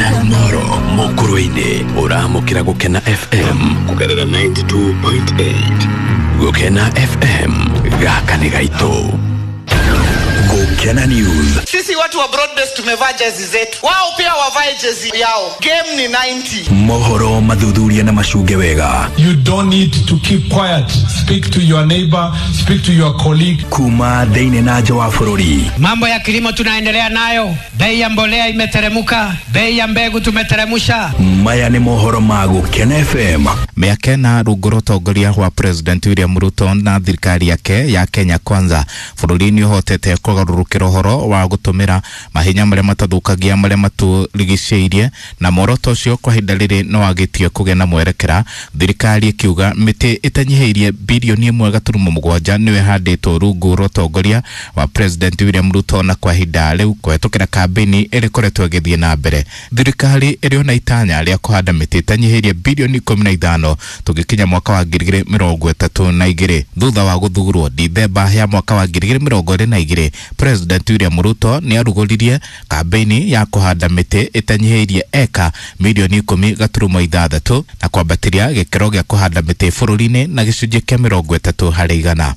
Na moro mukuru-inĩ ũramũkĩra Gũkena FM kũgerera 92.8. Gũkena FM, gaka nĩ gaitũ. Gũkena News. Sisi watu wa broadbase tumevaa jezi zetu, wao pia wavae jezi yao. Game ni 90. Mohoro mathuthuria na macunge wega. You don't need to keep quiet. Speak to your neighbor, speak to your colleague. Kuma thĩinĩ na nja wa bũrũri. Mambo ya kilimo tunaendelea nayo, bei ya mbolea imeteremuka, bei ya mbegu tumeteremusha. Maya nĩ mohoro ma Gũkena FM. Mĩaka ĩna rungu rwa ũtongoria wa President William Ruto na thirikari yake ya Kenya Kwanza, bũrũri nĩ ũhotete kũgarũrũkĩra ũhoro wa gũtũmĩra mahinya marĩa matathũkagia marĩa matũrigicĩirie, na muoroto ũcio kwa ihinda rĩrĩ no wagĩtie kũgĩa na mwerekera, thirikari ĩkiuga mĩtĩ ĩtanyihĩirie bilioni 1.7 nĩyo ĩhandĩtwo rungu rwa ũtongoria wa President William Ruto, na kwa ihinda rĩu kũhetũkĩra kambĩini ĩrĩa ĩkoretwo ĩgĩthiĩ na mbere. Thirikari ĩrĩ ona itanya rĩa kũhanda mĩtĩ ĩtanyihĩirie bilioni 15 tũgĩkinya mwaka wa 2032. Thutha wa gũthurwo Dithemba ya mwaka wa 2022, President William Ruto nĩ arugũririe kambĩini ya kũhanda mĩtĩ ĩtanyihĩirie eka milioni 10.6 na kwambatĩria gĩkĩro gĩa kũhanda mĩtĩ bũrũri-inĩ na gĩcunjĩ kĩa 30 harĩ igana.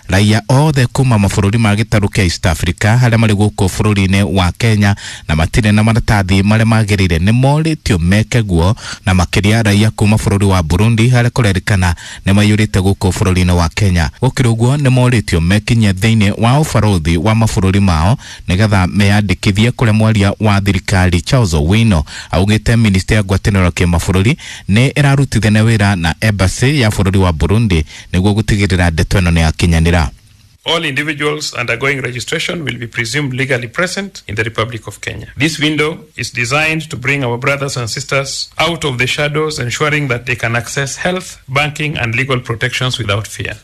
Raia othe kuma mabũrũri ma gĩtarũ kĩa East Africa harĩa marĩ gũkũ bũrũri-inĩ wa Kenya na matirĩ na maratathi marĩa magĩrĩire nĩ morĩtio meke guo, na makĩria raia kuma bũrũri wa Burundi harĩa kũrerĩkana nĩ maiyũrĩte gũkũ bũrũri-inĩ wa Kenya. Gũkĩrĩ ũguo nĩ morĩtio mekinyie thĩinĩ wa ũbarũthi wa mabũrũri mao nĩgetha meyandĩkithie, kũrĩa mwaria wa thirikari Charles Owino augĩte ministry ya ngwatanĩro kĩmabũrũri nĩ ĩrarutithania wĩra na embassy ya bũrũri wa Burundi nĩguo gũtigĩrĩra ndeto ĩno nĩ yakinyanĩra. All individuals undergoing registration will be presumed legally present in the Republic of Kenya. This window is designed to bring our brothers and sisters out of the shadows, ensuring that they can access health, banking, and legal protections without fear.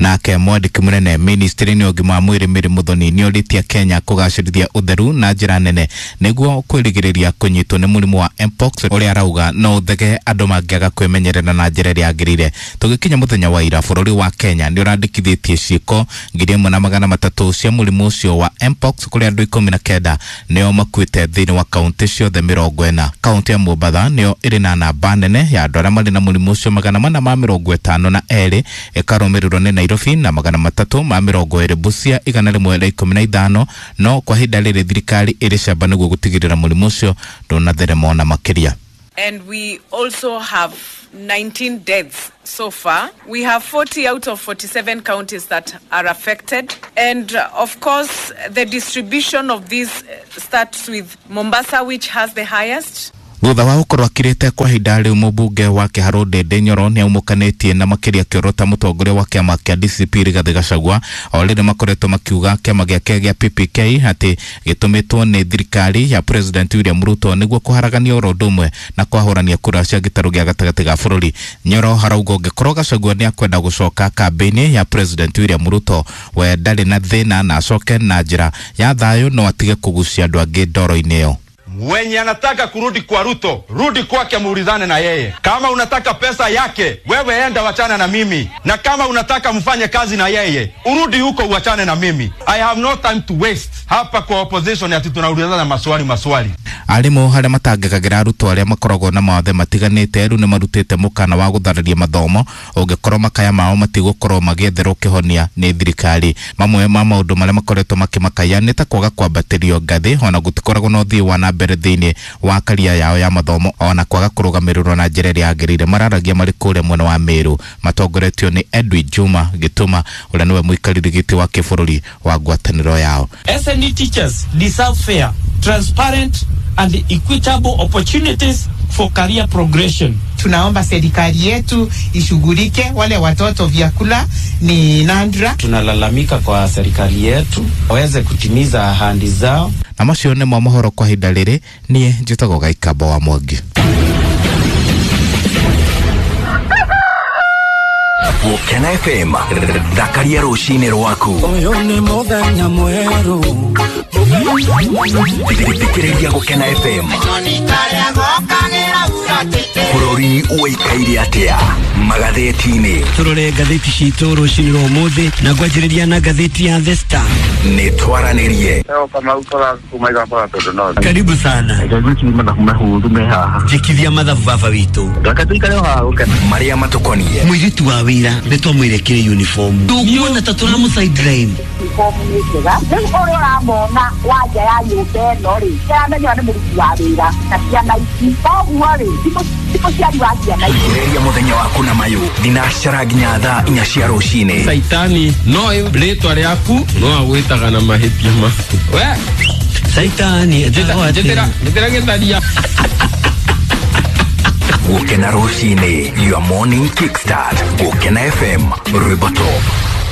Nake mwandĩki mũnene ministry-inĩ ya ũgima wa mwĩrĩ Mary Muthoni nĩorĩtie Kenya kũgacĩrithia ũtheru na njĩra nene nĩguo kwĩrigĩrĩria kũnyitwo nĩ mũrimũ wa mpox ũrĩa arauga no ũthege andũ mangĩaga kwĩmenyerera na njĩra ĩrĩa yagĩrĩire. Tũgĩkinya mũthenya wa ira, bũrũri wa Kenya nĩ ũrandĩkithĩtie ciĩko 1300 cia mũrimũ ũcio wa mpox, kũrĩa andũ 19 nĩo makuĩte thĩinĩ wa kaũntĩ ciothe 40. Kaũntĩ ya Mombatha nĩyo ĩrĩ na namba nene ya andũ arĩa marĩ na mũrimũ ũcio 452, ĩkarũmĩrĩrwo nĩ Nairobi na 320, Busia 115. No kwa ihinda rĩrĩ thirikari ĩrĩ camba nĩguo gũtigĩrĩra mũrimũ ũcio ndũnatherema ona makĩria. And we also have 19 deaths so far. We have 40 out of 47 counties that are affected. And of course, the distribution of this starts with Mombasa, which has the highest. Thutha wa gũkorwo akirĩte kwa ihinda rĩu, mũmbunge wa Kĩharũ Ndindi Nyoro nĩ aumũkanĩtie na makĩria kĩoro ta mũtongoria wa kĩama kĩa DCP Rigathĩ Gachagua, o rĩrĩ makoretwo makiuga kĩama gĩake gĩa PPK atĩ gĩtũmĩtwo nĩ thirikari ya President William Ruto nĩguo kũharagania oro ũndũ ũmwe na kwahũrania kura cia gĩtarũ gĩa gatagatĩ ga bũrũri. Nyoro harauga ũngĩkorwo Gachagua nĩ akwenda gũcoka kambĩini ya President William Ruto, we ndarĩ na thĩna na acoke na njĩra ya thayũ, no atige kũgucia andũ angĩ ndoro-inĩ ĩyo. Mwenye anataka kurudi kwa Ruto, rudi kwake, muulizane na yeye. Kama unataka pesa yake, wewe enda wachana na mimi, na kama unataka mfanye kazi na yeye, urudi huko uachane na mimi. I have no time to waste hapa kwa opposition ati tunaulizana maswali maswali. Arimũ harĩa matangĩkagĩra arutwo arĩa makoragwo na mawathe matiganĩte rĩu nĩ marutĩte mũkana wa gũthararia mathomo ũngĩkorwo makaya mao matigũkorwo magĩetherwo kĩhonia nĩ thirikari. Mamwe ma maũndũ marĩa makoretwo makĩmakaya nĩ ta kwaga kwambatĩrio ngathĩ, ona gũtikoragwo na ũthii wa na mbere thĩinĩ wa karia yao ya mathomo, ona kwaga kũrũgamĩrĩrwo na njĩra ĩrĩa yagĩrĩire. Mararagia marĩ kũrĩa mwena wa Meru matongoretio nĩ Edwin Juma Gĩtũma ũrĩa nĩwe mũikarĩri gĩtĩ wa kĩbũrũri wa ngwatanĩro yao. SNE teachers deserve fair, transparent and equitable opportunities for career progression. Tunaomba serikali yetu ishughulike wale watoto, vyakula ni nandra. Tunalalamika kwa serikali yetu waweze kutimiza ahadi zao. Na macio nĩ mo mohoro kwa ihinda rĩrĩ. Niĩ njĩtagwo Gaikamba wa Mwangi. Gũkena FM, thakaria rũcinĩ rwaku. Ũyũ nĩ mũthenya mwerũ. Thikĩrĩria Gũkena FM. Bũrũri ũikaire atĩa magathĩti-inĩ? Turore ngathĩti citũ rũcinĩ rwa ũmũthĩ na ngwanjĩrĩria na ngathĩti ya The Star. Nĩ twaranĩrie. Karibu sana. Njĩkithia mathabu baba witũ. Marĩa matũkoniĩ. Mũirĩtu wa wĩra nĩ twamwĩrekire uniform. Ndũkuona ta tũramũ sideline. Uniform nĩ njega. Rĩu ũrĩa ũramona wa nja ya nyũmba ĩno rĩ, nĩaramenya nĩ mũruti wa wĩra na ciana ici. Koguo rĩ, ti mũciari wa ciana ici. Ambĩrĩria mũthenya waku na mayũ thinacara nginya thaa 4 cia rũcinĩ. Saitani no rĩtwa rĩaku no agwĩtaga na mahĩtia maku. We Saitani etagwo atĩa? Njĩtĩra gĩtharia. Gũkena rũcinĩ, your morning kickstart. Gũkena FM, rwĩmbo top.